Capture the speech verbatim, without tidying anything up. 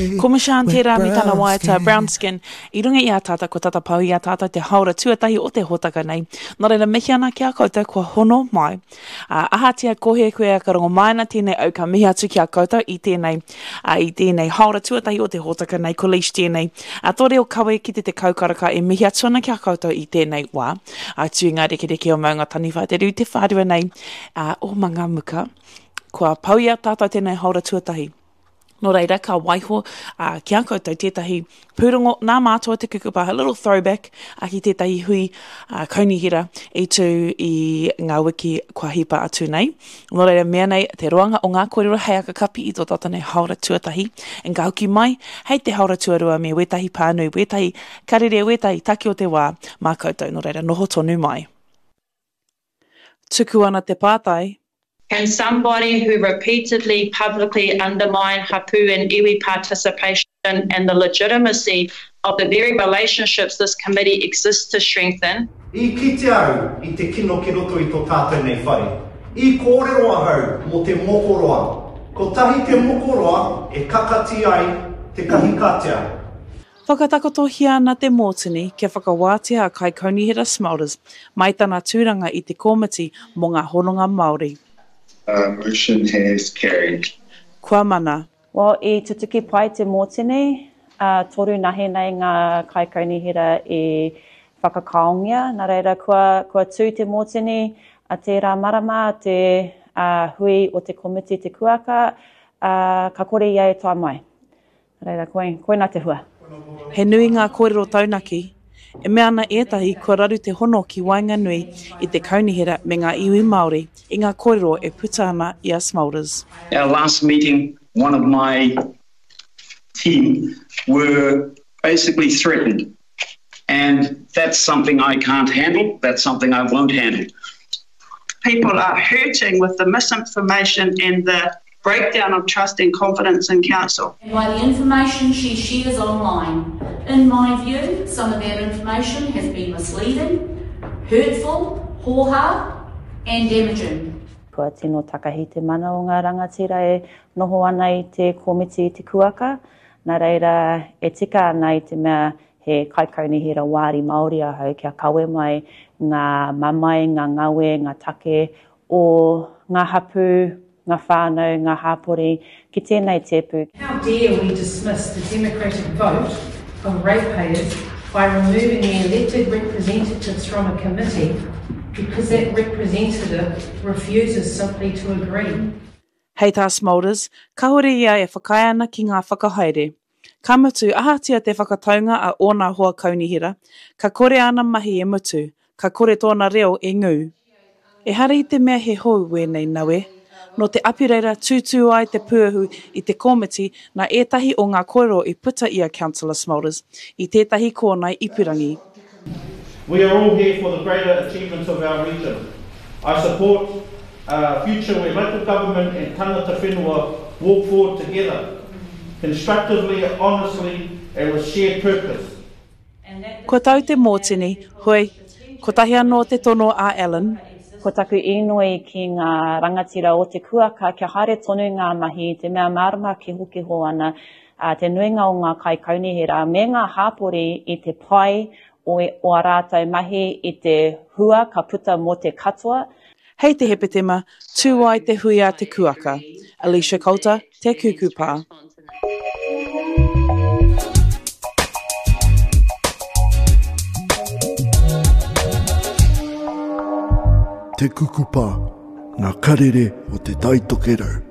Ko Mishaan tērā me tana waiata Brown Skin i runga i a tātou, kua tata pau i a tātou te haora tuatahi o te hōtaka nei. Nō reira, mihi ana ki a koutou kua hono mai. Uh, ahatia kohe koe ka rongo mai ana tēnei au ka mihi atu ki a koutou i tēnei, uh, i tēnei haora tuatahi o te hōtaka nei, ko Leish tēnei. Uh, tō reo kawe ki te tekau karaka e mihi atu ana ki a koutou i tēnei wā. Atu i ngā rekereke o Maunga Taniwha, te rū te whārua nei uh, o Mangamuka. Kua pau i a tātou tēnei haora tuatahi. Nō reira, ka waiho uh, ki a koutou tētahi pūrongo nā mātua te kukupa, a little throwback uh, ki tētahi hui uh, kaunihera i tū i ngā wiki kua hipa atu nei. Nō reira, mea nei te roanga o ngā kōrero hei aka kapi i tō tātou nei haora tuatahi. En ka hoki mai, hei te haora tuarua me wētahi pānui, wētahi karere, wētahi taki o te wā mā koutou. Nō reira, noho tonu mai. Tuku ana te pātai. Can somebody who repeatedly publicly undermine hapu and iwi participation and the legitimacy of the very relationships this committee exists to strengthen? I kite au i te kino ki roto i tō tātou nei whare. I kōrero ahau mō te mokoroa. Kotahi te mokoroa e kakati ai te kahikatea. Whakatakotohia ana te mōtini kia whakawātea a Kaikaunihera Smulders mai tana tūranga i te kōmiti mō ngā hononga Māori. Uh, motion has carried. Kua mana. Well, i tutuki pai te mōtini, uh, toru nahe nei ngā kaikaunihera i whakakaongia. Nā reira, kua, kua tū te mōtini a tērā marama, te uh, hui o te komiti te kuaka, uh, ka kore ia e tae mai. Nā reira, koe, koina te hua. He nui ngā kōrero taunaki. E mea ana ētahi kua raru te hono ki waenganui i te kaunihera me ngā iwi Māori i ngā kōrero e puta ana i a Smulders. Our last meeting, one of my team were basically threatened. And that's something I can't handle. That's something I won't handle. People are hurting with the misinformation and the breakdown of trust and confidence in council. And by the information she shares online, in my view, some of that information has been misleading, hurtful, hoha, and damaging. Kua tino takahi te mana o ngā rangatira e noho ana i te komiti i te kuaka. Nā reira e tika ana i te mea he kaikaunihera wāri Māori ahau kia kawe mai ngā mamae, ngā ngawe, ngā take o ngā hapu, ngā whānau, ngā hāpori, ki tēnei tēpu. How dare we dismiss the democratic vote of ratepayers by removing the elected representatives from a committee because that representative refuses simply to agree. Hei tā Smulders, kāore ia e whakaae ana ki ngā whakahaere. Ka mutu, ahatia te whakataunga a ōna hoa kaunihera, ka kore ana mahi e mutu, ka kore tōna reo e ngū. Ehara i te mea he hou wēnei nawe. Nō te Apireira tūtū ai te pūahu i te komiti nā ētahi o ngā kōrero i puta i a Councillor Smulders i tētahi kōnae ipurangi. We are all here for the greater achievements of our region. I support a future where local government and tangata whenua walk forward together, constructively, honestly, and with shared purpose. Kua tau te mōtini, hoi, kotahi anō te tono a Allen. Ko taku inoi ki ngā rangatira o te kuaka kia haere tonu ngā mahi, te mea mārama kihokiho ana, uh, te nuinga o ngā kaikaunihera me ngā hāpori i te pai o, o a rātou mahi i te hua ka puta mō te katoa. Hei te Hepetema, tū ai te hui a te kuaka. Alicia Coulter, Te Kukupa. Te Kukupa, ngā karere o te Tai Tokerau.